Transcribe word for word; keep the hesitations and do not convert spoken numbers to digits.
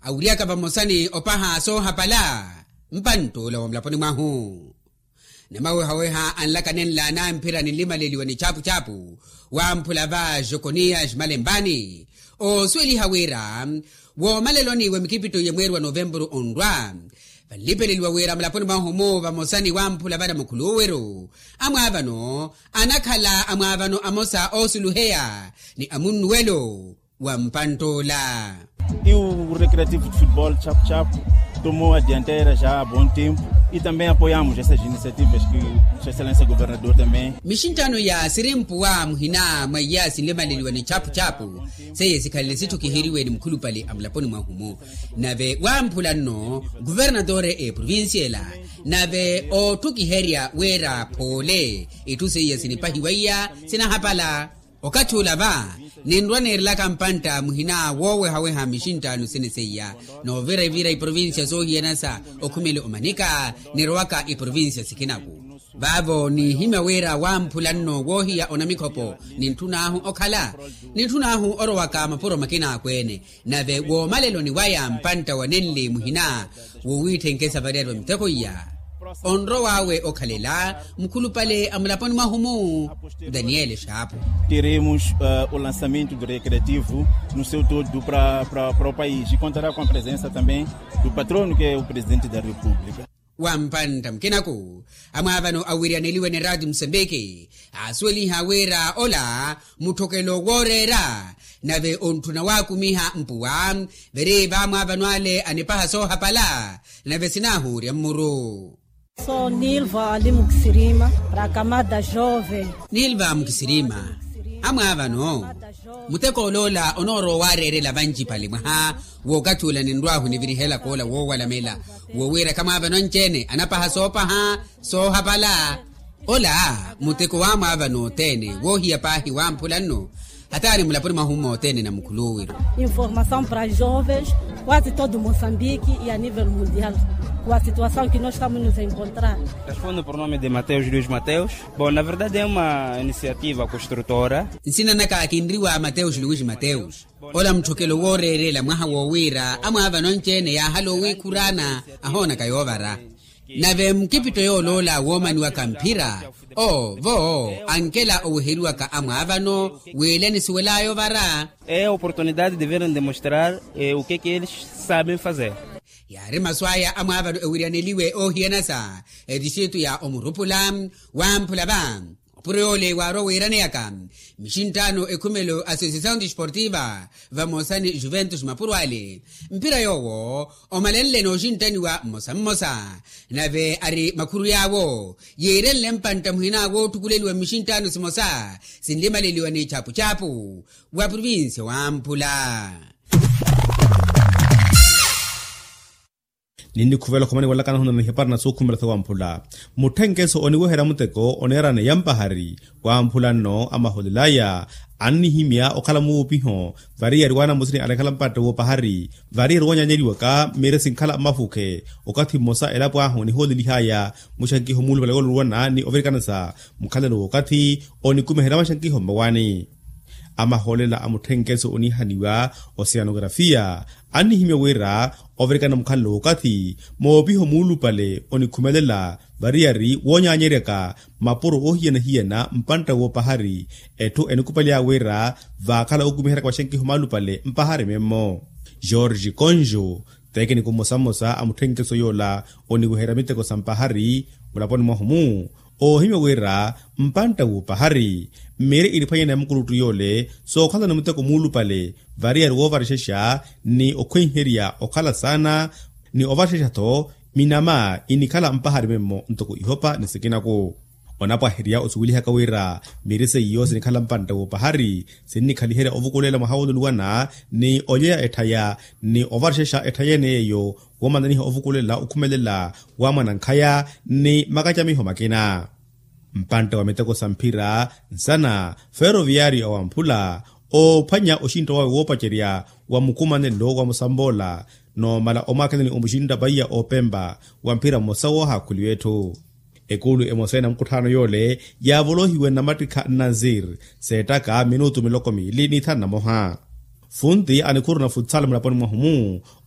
Awiryaka vamosa ni opaha soohapala mpantt'ula wa mulaponi mwahu. Namawehaweha anlaka nenla anamphira ninlimaleliwa ni chapuchapu wamphula va jokoniya jimalempani, oosuweliha wira woomaleloni wa mikipitto ya mweeri wa novempuru onrwa, vanlipeleliwa wira mulaponi mwahu-mu vamosa ni wamphula vana mukhuluwiru amwaavano anakhala amwaavano amosa oosuluheya ni amunnuwelo wa mpantt'ula. E o recreativo de futebol chapuchapu tomou a dianteira já há bom tempo e também apoiamos essas iniciativas que sua excelência governador também. Mixinttano ya sirimpuwa muhina mwa iya sinlimaleliwa ni chapuchapu seiye sikhalele sitthukiheriwe ni mukhulupale a mulaponi mwahu-mu. Nave wamphula nno kuvernatore eprovincia ela nave ootthukiherya wira phoole itthu seiya sinipahiwa iya sinahapala. Okathi ula va ninrwa neerelaka mpantta muhina woowehaweha mixinttaano sene seiya noovira ivira iprovincia soohiyana sa okhumele omanika nirowaka iprovincia sikinaku. Vaavo niihimya wira wamphula nno woohiya onamikhopo nintthun'ahu okhala nintthun'ahu orowaka mapuro makina akweene. Nave woomaleloni waya mpantta wa nenli muhina wowiitthenke savariyari wa miteko iya onrow'awe okhalela mukhulupale a mulaponi mwahu-mu daniele xaapu. Teremos o lançamento do recreativo no seu todo para o país e contará com a presença também do patrono que é o presidente da república. Wa mpantta mukinaku amwaavano awiryaneliwe ni raati musambiki aasuweliha wira ola mutthokelo wooreera nave ontthuna waakumiha mpuwa. Viri vaamwaavano ale anipaha soohapala nave sinaahuurya mmuru. Sou nilva ali mukisirima para a camada jovem. Nilva mukisirima amwaavano muteko oloola onoorowa waareerela vancipale mwaha wookathi ula ninrw'ahu nivirihelaka ola woowalamela wowiiraka mwaavano anci-ene anapaha soopaha soohapala. Ola muteko waamwaavano othene woohiya paahi wamphula nno hataani mulaponi mwahu-mu othene na mukhuluwiru. Informação para jovens quase todo moçambique e a nível mundial com a situação que nós estamos nos encontrar. Respondo por nome de mateus luis mateus. Bom, na verdade é uma iniciativa construtora. Nsina naka kinriwa mateus luis mateus. Ola mutthokelo wooreerela mwaha wowiira amwaavano anci-ene yaahala owiikhuraana ahoonaka yoovara. Nave mukipitto yooloola woomaniwaka mphira owo ankela oweheriwaka amwaavano wiila enisuwel'aya ovara. É a oportunidade de verem demonstrar o que que eles sabem fazer. Yaari masu aya amwaavano ewiryaneliwe oohiyana sa etistritu ya omurupula wamphula va. Opuro yoole waarwa wiiraneyaka mixinttaano ekhumelo associação desportiva vamosa ni juventus mapuro ale mphira yoowo omalenle nooxinttaniwa mmosa mmosa. Nave ari makhuru yaawo yiirenle mpantta muhina wootthukuleliwa mmixinttaano simosa sinlimaleliwa ni chapuchapu wa provincia wamphula. Ninnikhuvela okhomani walakana ohunana ihapari na sookhumela sawamphula mutthenkeso oniweherya muteko oneerana yampahari. Wamphula nno amaholel'aya annihimya okhala muupiho variyari waanamusini anakhala mpatta woopahari variyari woonyaanyeriwaka mmiire sinkhala mmafukhe. Okathi mmosa elapo ahu onihoolelih'aya muxankiho muulupale wooluwana ni ovirikana sa mukhalelo w'okathi onikumiherya maxankiho mmawaani. Amahoolela a mutthenkeso oniihaniwa oceanografia annihimya wira ovirikana mukhalelo w'okathi moopiho muulupale onikhumelela variyari woonyaanyeryaka mapuro oohiyana-hiyana mpantta woopahari. Etthu enikupalya wira vaakhala okumiheryaka maxankiho maalupale mpahari memmo. George konjo tekiniko mmosa mmosa a mutthenkeso yoola oniweherya miteko sa mpahari mulaponi mwahu-mu oohimya wira mpantta w'opahari mmiire eniphwanyana ya mukuluttu yoole sookhalana muteko muulupale variyari woovarexexa ni okhwenherya okhala saana ni ovarexexa-tho minama inikhala mpahari memmo ntoko ihopa ni sikinaku. Onapwaherya osuwelihaka wira miiri seiyo sinikhala mpantta w'opahari sinnikhaliherya ovukulela mwaha wooluluwana ni olyeya etthaya ni ovarexexa etthaya ene yeeyo woomananiha ovukulela okhumelela wa mwanankhaya ni makacamiho makina. Mpantta wa miteko sa mphira nsana feroviyaari awamphula oophwanya oxintta wawe woopacerya wa mukumanelo wa musamboola noomala omwaakhelani omuxintta paiya oopempa wa mphira mmosa woohaakhuliwa etthu. Ekuulu emosa ya namukutthaano yoole yaavolohiwe nnamattikha nnanzir seettaka minutu miloko miili n'ithanu na moha. Funti anikhuru na futsal mulaponi mwahu-mu